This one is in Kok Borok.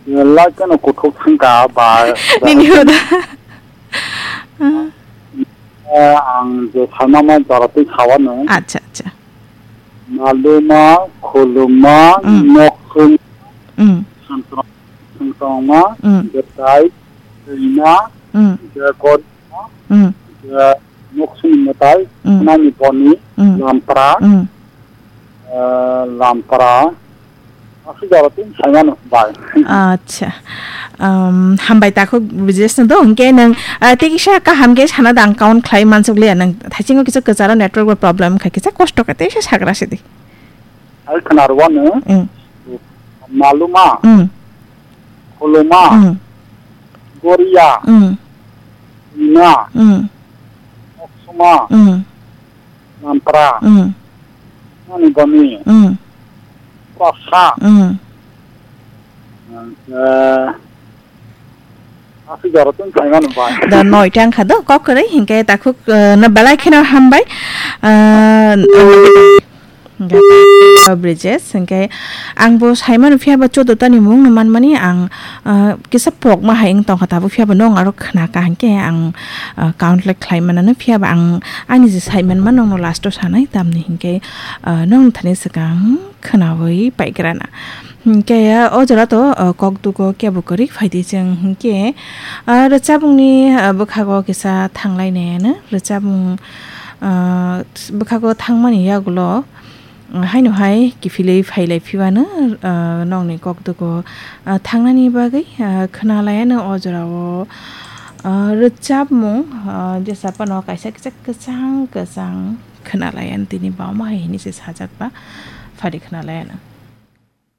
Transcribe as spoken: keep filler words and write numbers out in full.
Lai kano kuthuk thangka ba. Nini huda. Eh, ang je salma ma jora twi sawano. Acha, acha. Maluma, khuluma, Mm. noksum, Mm. songtong-, songtongma, Mm. betai, twina, Mm. je godma, Mm. je noksum mwtai, Mm. nani boni, Mm. lampra, Mm. eh, lampra, aswk jora twi saimano bai. Acha. Um, hambai takhuk bujesno do, hwnkhe nwng, ah, tei kisa kaham khe sana dang count khlai mansuk liya nwng. Thaisingo kisa kwcharo network bo problem kha, kisa kosto kha, teisa sagra sidi. Hai khwnarwano, Mm. maluma, Mm. khuluma, Mm. goria, Mm. ina, Mm. oksuma, Mm. lampra, Mm. nani boni, Mm. prasa, Mm. eh, aswk jora twi saimano bai. Da noita wngkha do, kok kwrwi, hinkhe takhuk, eh, no belai kheno hambai. Eh, Bridges, hinkhe ang bo saimano phiya ba choudo ta ni mung no manmani ang, eh, kisa pokma hai wng tongkha tabuk phiya ba nwng aro khna ka hinkhe ang, eh, count le khlai manano phiya ba ang ani je saimanma nwng no last o sanai tamni hinkhe, eh, nwng thani swkang khnaui paigrana. Hinkhe o jora to, uh, kokdugo kebo kwrwi phaidi chwng hinkhe, uh, rwchapmungni, uh, bwkhago kisa thanglainaiano rwchapmung, uh, bwkhago thangmani yagulo, uh, haino hai kiphilwi phailai phiwano, uh, nokni kokdugo, uh, thangnani bagwi, uh, khwnalaiano o jorao, uh, rwchapmung, uh, jesa phano kaisa kisa kwchang kwchang khwnalaiano tini bama hai hinwi se sajak ba phari khwnalaiano.